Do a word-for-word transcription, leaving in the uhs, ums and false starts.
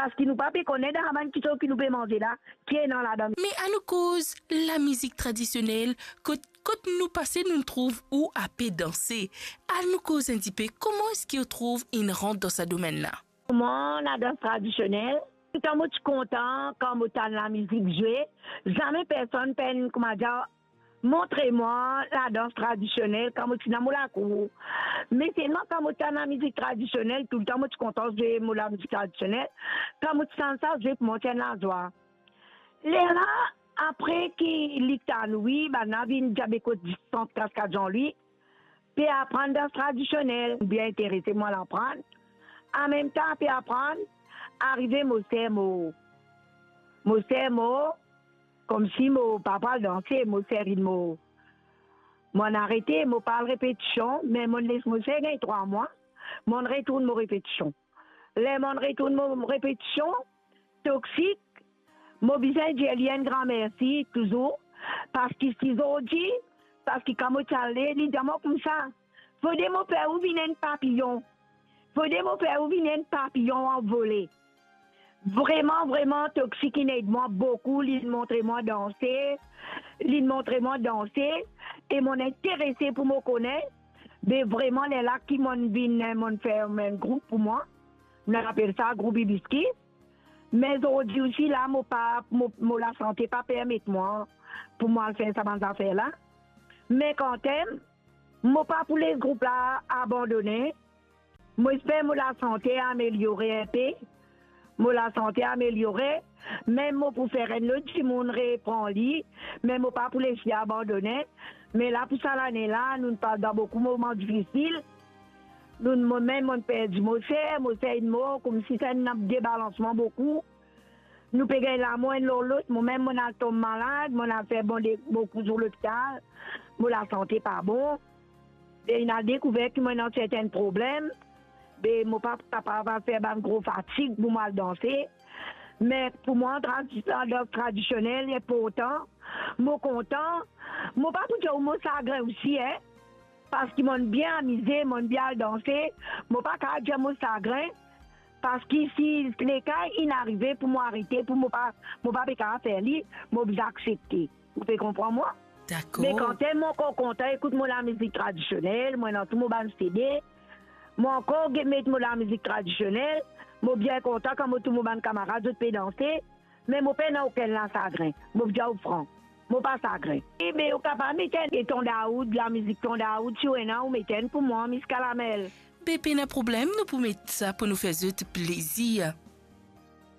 Parski nou pa pe kone dan sa bann kitsoz ki nou pe manze la, ki ena ladan. Me anou koz lamizik tradisionel, kot, kot nou pase, nou trouv ou ape danse. Anou koz enn tipe, kouma eski ou trouv inn rant dan sa domenn la? Mwa, ladans tradisionel, toutan mo ti kontan kan mo tann lamizik zwe, zame personn pa'nn, kouma dir, montre mwa ladans tradisionel kan mo ti dan mo lakour. Me selman kan mo tann lamizik tradisionel, toutan mo ti kontan zwe mo lamizik tradisionel, kan mo ti tann sa zwe, pou mwa ti enn lazwa. Lerla, apre ki li tann, wi, bann la vinn dir be kot Distant Kaskad Jean Louis, pe aprann dans tradisionel, bien interese mwa al aprann. Anmemtan pe aprann, arive mo ser mo, mo ser mo, koumsi mo pa pou al danse, mo ser inn mo, mo'nn arete, mo pa al repetision, me mo'nn les mo ser gagn trwa mwa, mo'nn retourn mo repetision. Ler mo'nn retourn mo repetision, Toxic, mo bizin dir li enn gran mersi touzour, parski si zordi, parski kan mo ti ale, li dir mwa koumsa, fode mo fer ou vinn enn papiyon, fode mo fer ou vinn enn papiyon anvole. Vreman, vreman, Toxic inn ed mwa boukou, li montre mwa danse, li montre mwa danse, e mo'nn interese pou mo kone, be vreman, lerla ki mo'nn vinn, mo'nn fer enn group pou mwa, nou apel sa group Ibiskis. Me zordi osi la, mo pa, mo, mo lasante pa permet mwa pou mo al fer sa bann zafer la. Me kanmem, mo pa pou les group la abandone. Mo esper mo lasante ameliore inpe. Mo lasante ameliore, me mo pou fer enn lot dimoun repran li, me mo pa pou les li abandone. Me la pou sa lane la, nou pas dan boukou moman difisil. Nou, mo mem, mo'nn perdi mo ser, mo ser inn mor, koumsi sa enn debalansman boukou. Nou pe gagn lamor enn lor lot, mo mem mo'nn al tom malad, mo'nn al fer bon de, boukou zour lopital, mo lasante pa bon. E inn al dekouver ki mo ena sertin problem, be mo pa kapav al fer bann gro fatig pou mo al danse. Me pou mwa, tradi-, dans tradisionel inportan, mo kontan, mo pa pou dir ou mo sagrin osi, en. Parski mo'nn bien amize, mo'nn bien al danse, mo pa kapav dir mo sagrin, parski si leka inn arive pou mo arete, pou mo pa, mo pa pe kapav fer li, mo bizin aksepte. Ou pe konpran mwa? Dakor. Me kanmem mo ankor kontan ekout mo lamizik tradisionel, mo ena tou mo bann C D, mo ankor get met mo lamizik tradisionel, mo bien kontan kan mo trouv mo bann kamarad zot pe danse, me mo pena okenn lasagrin. Mo pou dir ou fran, mo pa sagrin. E be, ou kapav met enn Ton Daoud, lamizik Ton Daoud, si ou ena, ou met enn pou mwa, Miss Kalamel. Be pena problem, nou pou met sa pou nou fer zot plezir.